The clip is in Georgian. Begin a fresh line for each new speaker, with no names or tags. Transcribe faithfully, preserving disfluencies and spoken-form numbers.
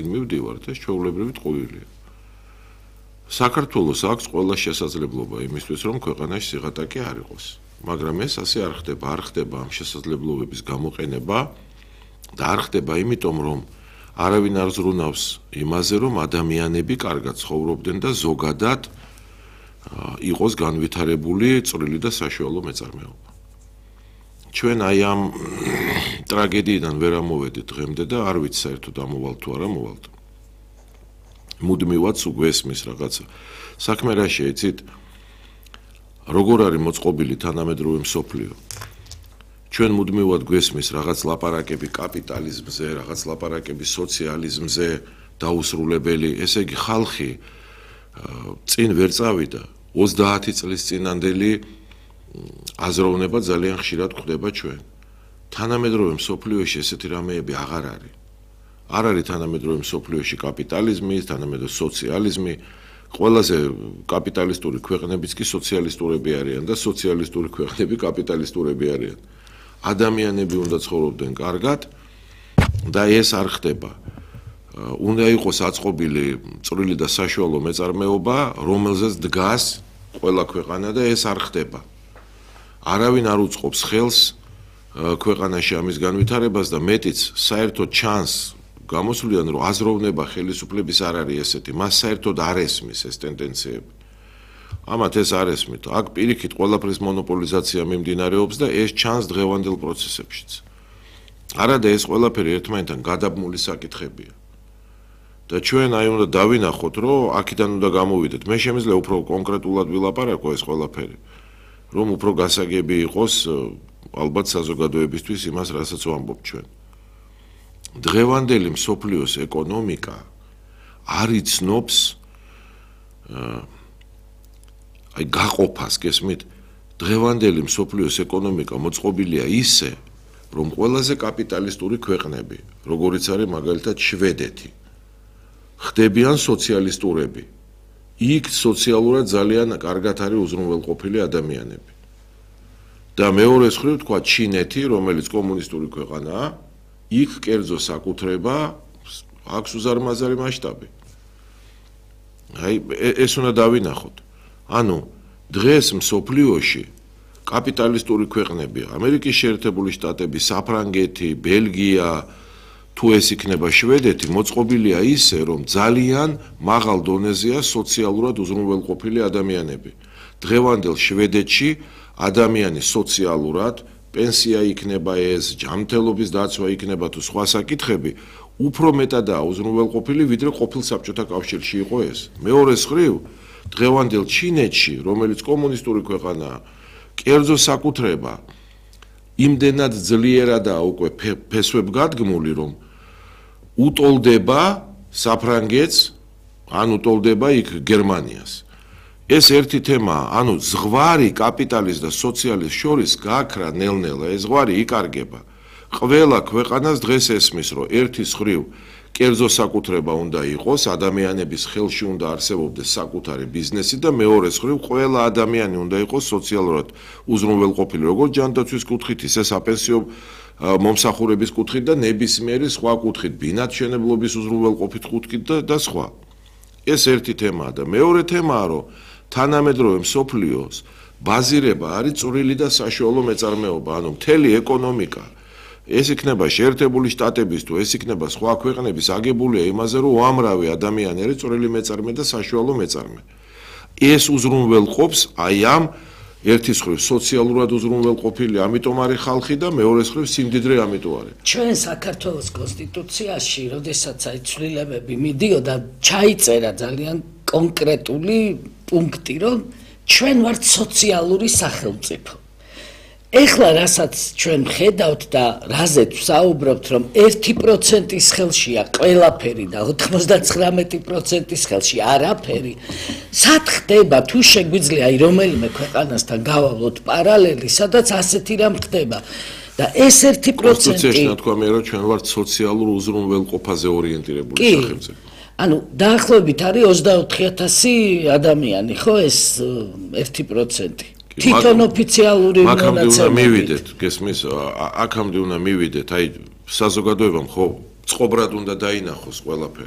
მივდივართ, ეს ჩვეულებრივი ტყუილია. საქართველოს აქვს ყველა შესაძლებლობა იმისთვის, რომ ქვეყანაში სიღატაკე არ იყოს. მაგრამ ეს ასე არ ხდება, არ ხდება ამ შესაძლებლობების გამოყენება და არ ხდება იმიტომ, რომ არავინ არ ზრუნავს იმაზე, რომ ადამიანები კარგად ცხოვრობდნენ და ზოგადად იყოს განვითარებული წვრილი და საშუალო მეწარმეობა. ჩვენ აი ამ ტრაგედიიდან ვერ ამოვედით დღემდე და არ ვიცი საერთოდ ამოვალ თუ არა მოვალთ. მუდმივად უგვესმის რაღაცა. საქმე რა შეიცით? როგორ არის მოწყობილი თანამედროვე მსოფლიო? ჩვენ მუდმივად გვესმის რაღაც ლაპარაკები კაპიტალიზმზე, რაღაც ლაპარაკები სოციალიზმზე დაუსრულებელი, ესე იგი ხალხი წინ ვერ წავიდა. ოცდაათი წლის წინანდელი აზროვნება ძალიან ხშირად გვხდება ჩვენ. თანამედროვე მსოფლიოში ესეთი რამეები აღარ არის. არ არის თანამედროვე მსოფლიოში კაპიტალიზმი, თანამედროვე სოციალიზმი. ყველაზე კაპიტალისტური ქვეყნებიც კი სოციალისტურები არიან და სოციალისტური ქვეყნები კაპიტალისტურები არიან. ადამიანები უნდა ცხოვრობდნენ კარგად და ეს არ ხდება. უნდა იყოს აწყობილი წვრილი და საშუალო მეწარმეობა, რომელზეც დგას ყველა ქვეყანა და ეს არ ხდება. არავინ არ უწყობს ხელს ქვეყანაში ამის განვითარებას და მეტიც საერთოდ ჩანს გამოსვლიდან, რომ აზროვნება ხელისუფლების არ არის ესეთი, მას საერთოდ არ ესმის ეს ტენდენციები. ამათ ეს არ ესმით. აქ პირიქით ყველაფრის მონოპოლიზაცია მიმდინარეობს და ეს ჩანს დღევანდელ პროცესებშიც. არადა ეს ყველაფერი ერთმანეთთან გადაბმული საკითხებია. და ჩვენ აი უნდა დავინახოთ, რომ აქედან უნდა გამოვიდეთ. მე შემიძლია უფრო კონკრეტულად ვილაპარაკო ეს ყველაფერი, რომ უფრო გასაგები იყოს ალბათ საზოგადოებისთვის იმას, რასაც ვამბობ ჩვენ. დღევანდელი მსოფლიოს ეკონომიკა არ იცნობს აი გაყოფას, გესმით? დღევანდელი მსოფლიოს ეკონომიკა მოწყობილია ისე, რომ ყველაზე კაპიტალისტური ქვეყნები, როგორიც არის მაგალითად შვედეთი, ხდებიან სოციალისტურები. იქ სოციალურად ძალიან კარგად არის უზრუნველყოფილი ადამიანები. და მეორე მხრივ თქვა ჩინეთი, რომელიც კომუნისტური ქვეყანაა, იქ კერძო საკუთრება აქვს უზარმაზარი მასშტაბი. აი ეს უნდა დავინახოთ. ანუ დღეს მსოფლიოში კაპიტალისტური ქვეყნები, ამერიკის შეერთებული შტატები, საფრანგეთი, ბელგია, თუ ეს იქნება შვედეთი, მოწყობილია ისე, რომ ძალიან მაღალ დონეზეა სოციალურად უზრუნველყოფილი ადამიანები. დღევანდელ შვედეთში ადამიანი სოციალურად, პენსია იქნება ეს, ჯანმრთელობის დაცვა იქნება თუ სხვა საკითხები, უფრო მეტადაა უზრუნველყოფილი, ვიდრე ყოფილ საბჭოთა კავშირში იყო ეს. მეორე მხრივ, დღევანდელ ჩინეთში, რომელიც კომუნისტური ქვეყანაა, კერძო საკუთრება იმდენად ძლიერადაა უკვე ფესვებ გადგმული, რომ უტოლდება საფრანგეთს, ან უტოლდება იქ გერმანიას. ეს ერთი თემაა, ანუ ზღვარი კაპიტალიზმს და სოციალიზმს შორის გაქრა ნელ-ნელა, ეს ზღვარი იკარგება. ყველა ქვეყანას დღეს ესმის, რომ ერთი მხრივ კერძო საკუთრება უნდა იყოს, ადამიანების ხელში უნდა არსებობდეს საკუთარი ბიზნესი და მეორე მხრივ ყველა ადამიანი უნდა იყოს სოციალურად უზრუნველყოფილი, როგორც ჯანდაცვის კუთხით, ისე საპენსიო მომსახურების კუთხით და ნებისმიერი სხვა კუთხით, ბინადმშენებლობის უზრუნველყოფით კუთხით და, და სხვა. ეს ერთი თემაა და მეორე თემაა, რომ თანამედროვე მსოფლიოს ბაზირება არის წვრილი და საშუალო მეწარმეობა, ანუ მთელი ეკონომიკა. ეს იქნება შეერთებული შტატების თუ ეს იქნება სხვა ქვეყნების აგებულია იმაზე, რომ უამრავი ადამიანი არის წვრილი მეწარმე და საშუალო მეწარმე. ეს უზრუნველყოფს აი ამ ერთი მხრივ სოციალურად უზრუნველყოფილი, ამიტომ არის ხალხი და მეორე მხრივ სიმდიდრე ამიტომ არის.
ჩვენ საქართველოს კონსტიტუციაში, როდესაც აი ცვლილებები მიდიოდა, ჩაიწერა ძალიან კონკრეტული პუნქტი, რომ ჩვენ ვართ სოციალური სახელმწიფო. ეხლა რასაც ჩვენ ხედავთ და რაზეც ვსაუბრობთ, რომ ერთი პროცენტის ხელშია ყველაფერი და ოცდათვრამეტი პროცენტის ხელში არაფერი, სად ხდება, თუ შეგვიძლია აი რომელიმე ქვეყანასთან გავავლოთ პარალელი, სადაც ასეთი რამ ხდება და ეს ერთი პროცენტი
კონსტიტუციაში ნათქვამია, რომ ჩვენ ვართ სოციალურ უზრუნველყოფაზე ორიენტირებული სახელმწიფო.
ანუ დაახლოებით არის ოცდაოთხი ათასი ადამიანი, ხო ეს ერთი პროცენტი. თვითონ ოფიციალური
მონაცემები. აქამდე უნდა მივიდეთ, გესმის, აქამდე უნდა მივიდეთ, აი საზოგადოებამ ხო წყობრად უნდა დაინახოს ყველაფერი.